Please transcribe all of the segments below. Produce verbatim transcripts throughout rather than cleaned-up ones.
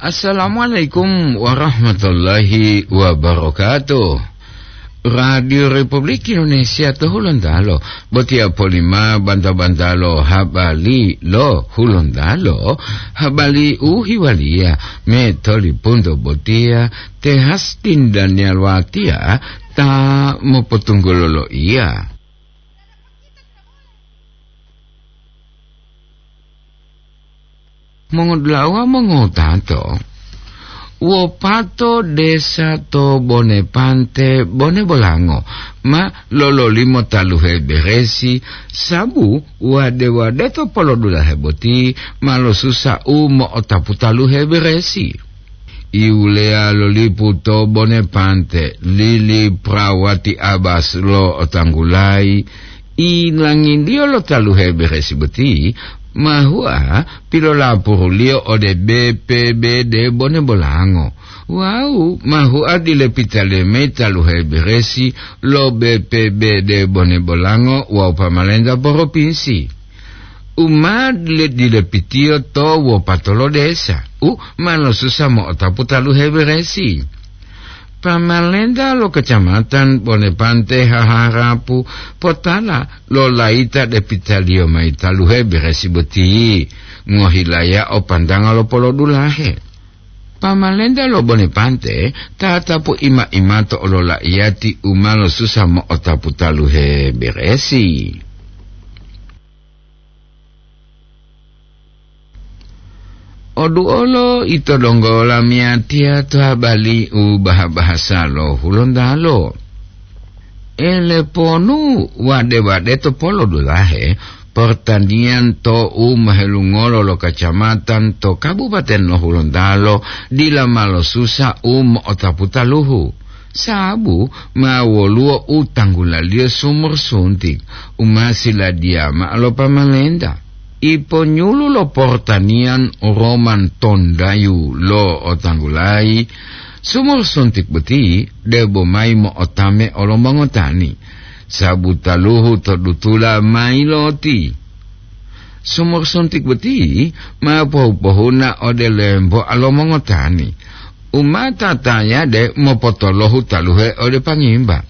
Assalamualaikum warahmatullahi wabarakatuh. Radio Republik Indonesia to Hulontalo, botiya polima banta-bantalo habari lo Hulontalo, habari u hiwaliya me tolipunto botiya te Hastin Daniel Watia ta mopotunggulo lo iya. Mongodula'a mongotato, wopato desa to Bonepante, Bone Bolango, ma lololimo taluhe beresi, sabu wade-wade to polodulahe boti ma losusa u mo'otapu taluhe beresi. Iwuleya lo lipu to Bonepante, Lili Prawati Abas lo otanggulayi, ilangindiyo lo taluhe beresi boti ma hua pilolapuruliyo ode B P B D Bone Bolango. Wawu ma hua dilepitaliyo mayi taluhe beresi lo B P B D Bone Bolango wawu pamalenta poropinsi. U ma dile-, dilepitiyo to wopatolo desa, u ma losusa mo'otapu taluhe beresi. Pamalenta lo Kecamatan Bonepante haharapu potala lo layita depitaliyo mayi taluhe beresi boti, ngohilaya o pantanga lo polodulahe. Pamalenta lo Bonepante tatapu ima-imato olola'iyati u ma losusa mo'otapu taluhe beresi. Oduolo ito donggo lamiyatiya to habari u baha-bahasa lo Hulontalo. Eleponu wade-wade to polodulahe, portaniyan to u mohelungolo lo kacamatan to kabupaten lo Hulontalo dila ma losusa u mo'otapu taluhu. Sabu ma woluwo u tanggulaliyo sumur suntik u ma siladiya ma'o lo pamalenta. Iponyulu lo portaniyan Roman Tondayu lo otanggulayi, sumur suntik boti debo mayi mo'otame olo mongotani, sabu taluhu to dutula mayi loti. Sumur suntik boti ma pohu-pohuna ode lemboa lo mongotani, u ma tatayade mopotolohu taluhe ode pangimba.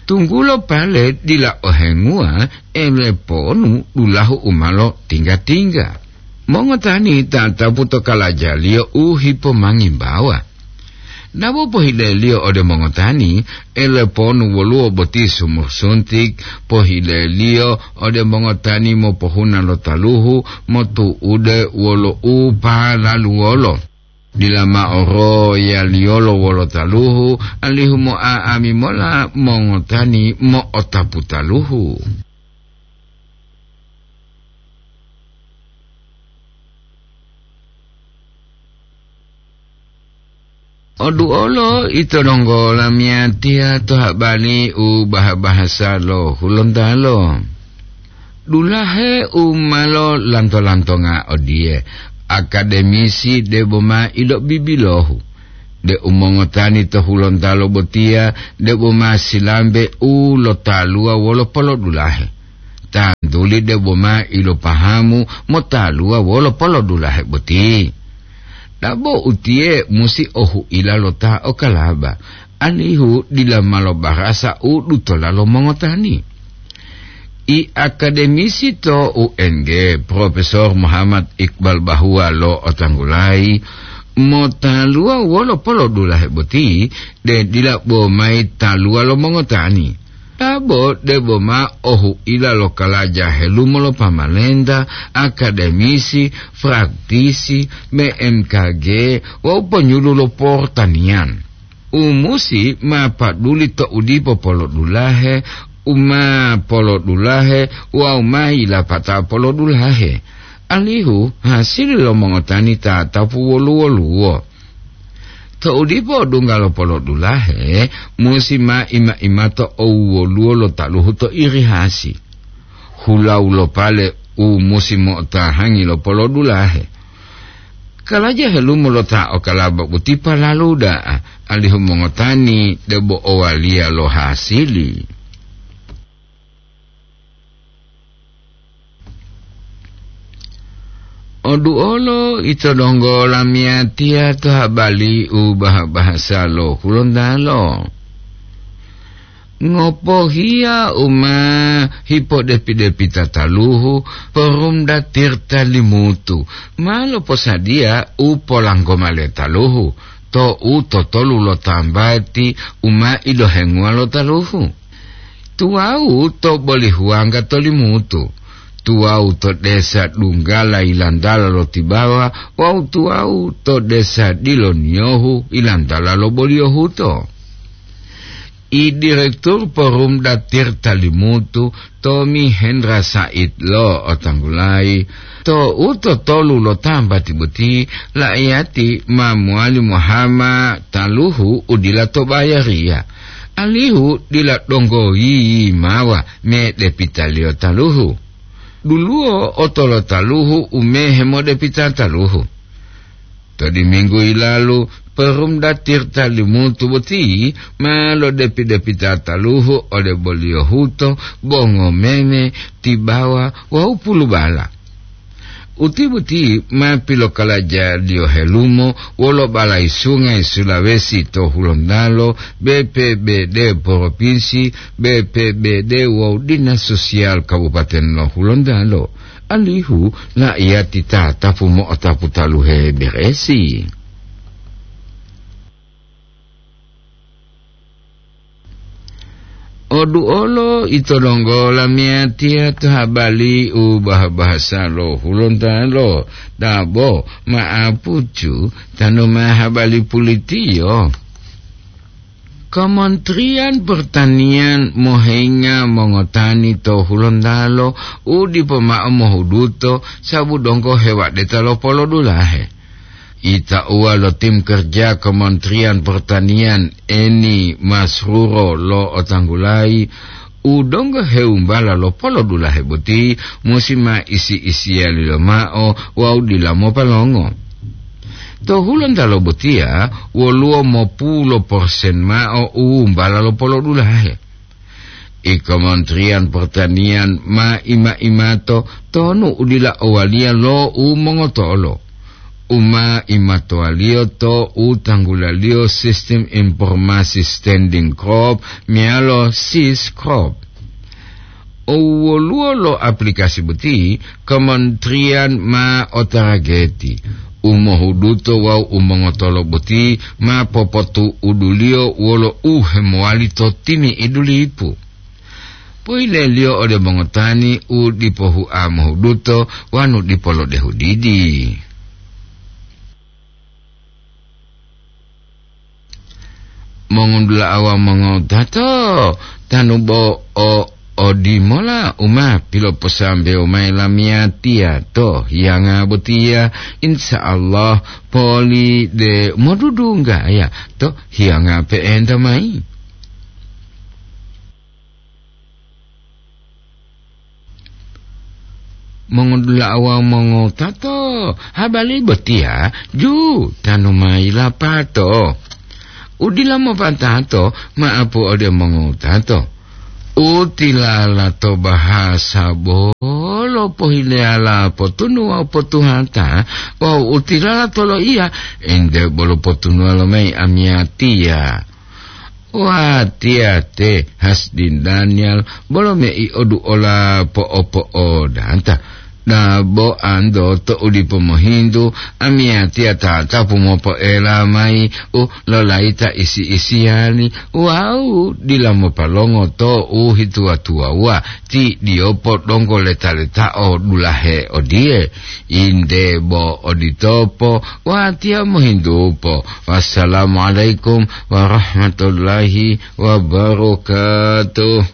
Tunggulo pale dila ohenguwa eleponu dulahu u ma lotingga-tingga. Mongotani tatapu to kalajaliyo u hipomangimbawa. Dabo pohileliyo ode mongotani, eleponu woluwo boti sumur suntik, pohileliyo ode mongotani mopohuna lo taluhu motu'ude wolo u palaluwolo. Dila mao royaliyolo wolo taluhu, alihu mo'a'ami mola mongotani mo'otapu taluhu. Oduolo ito donggo lamiyatiya to habari u baha-bahasa lo Hulontalo. Dulahe u ma lolanto-lantonga odiye, akademisi debo ma ilobibilohu, deu mongotani to Hulontalo botiya debo ma silambe u lotaluwa wolo polodulahe. Tantuli debo ma ilopahamu motaluwa wolo polodulahe boti. Dabo utiye musi ohuila lo ta okalaba, alihu dila ma lobarasa u dutola lo mongotani. I akademisi to U N G, Profesor Muhammad Iqbal Bahua lo otanggulayi, motaluwa wolo polodulahe boti, de dila bo mayi taluwa lo mongotani. Dabo debo ma ohuila lo kalaja helumo lo pamalenta, akademisi, praktisi, B M K G, wawu ponyulu lo portaniyan. U musi ma paduli to u dipo polodulahe, u ma polodulahe, wawu ma yilapata polodulahe, alihu hasili lo mongotani tatapu wolu-woluwo. To u dipo odungga lo polodulahe, musi ma ima-imato owuwoluwo lo taluhu to irihasi. Hulawu lo pale u musi mo'otahangi lo polodulahe. Kalaja helumo lo ta okalaba boti palalu da'a, alihu mongotani debo owaliya lo hasili. Oduolo ito donggo lamiyatiya to habali u baha-bahasa lo Hulontalo. Ngopohiya u ma hipodepi-depita taluhu, Porumda Tirta Limutu ma loposadiya u polanggo male taluhu to u totolu lo tambati u ma ilohenguwa lo taluhu. Tuwawu to Bolihuwangga to Limutu, tuwawu to desa Dunggala yilantala lo Tibawa wawu tuwawu to desa Diloniyohu yilantala lo Boliyohuto. I Direktur Porumda Tirta Limutu, Tomi Hendra Said lo otanggulayi, to u totolu lo tambati boti, la'iyati ma mowali mohama taluhu u dila to bayariya, alihu dila donggo yiyimawa medepitaliyo taluhu. Duluwo otolo taluhu u mehe modepita taluhu. To diminggu yilalu, Porumda Tirta Limutu boti ma lodepi-depita taluhu ode Boliyohuto, Bongomeme, Tibawa wawu Pulubala. Uti boti ma pilokalajaliyo helumo wolo balayi sungayi Sulawesi to Hulontalo, B P B D Propinsi, B P B D wawu Dinas Sosial Kabupaten lo Hulontalo, alihu la'iyati tatapu mo'otapu taluhe beresi. Oduolo ito donggo lamiyatiya to habali u baha-bahasa lo Hulontalo, dabo ma'apucu tanu ma habali pulitiyo. Kementerian Pertanian mohenga mongotani to Hulontalo u dipo ma'o mohuduto sabu donggo hewadeta lo polodulahe. Itauwa lo tim kerja Kementerian Pertanian, Eni Masruro lo otanggulayi, u donggo heumbala lo polodulahe boti musi ma isi-isiyali lomao wawu dila mopalongo. To Hulontalo botiya woluwo mopulo persen mao u wumbala lo polodulahe. I Kementerian Pertanian ma ima-imato tonu u dila owaliya lo u mongotolo, u ma imatowaliyo to u tanggulaliyo Sistem Informasi Standing Crop meyalo sis crop. O woluwo lo aplikasi boti, kementerian ma otarageti, u mohuduto wawu u mongotolo boti ma popotu'uduliyo wolo u hemowali to timi'idu lipu. Poileliyo ode mongotani u dipo hua mohuduto wanu dipo lodehu didi. Mongondula'awa mongowutato, tanu bo o odimola u ma piloposambewo mayi lamiyatiya to hiyanga botiya, insya Allah poli de modudunggaya to hiyanga pe'enta mayi. Mongodula'a wawu mongowutato, habari botiya ju tanu mayi lapato. U dila mopatato ma'apu ode mongowutato. U tilala to bahasa bolo pohileyala potunu wawu potuhata, wawu u tilala to loiya ente bolo potunuwa lomayi amiyatiya. Watiya te Hasdin Daniel bolo mei oduola po'opo'odanta. Dabo anto to u dipo mohintu, amiyatiya tatapu mopoela mayi u lolayita isi-isiyali wawu dila mopalongo to u hituwa-tuwawuwa ti diyopo donggo leta-letao dulahe odiye. Inde bo oditopo, watiya mohintupo. Wassalamualaikum warahmatullahi wabarakatuh.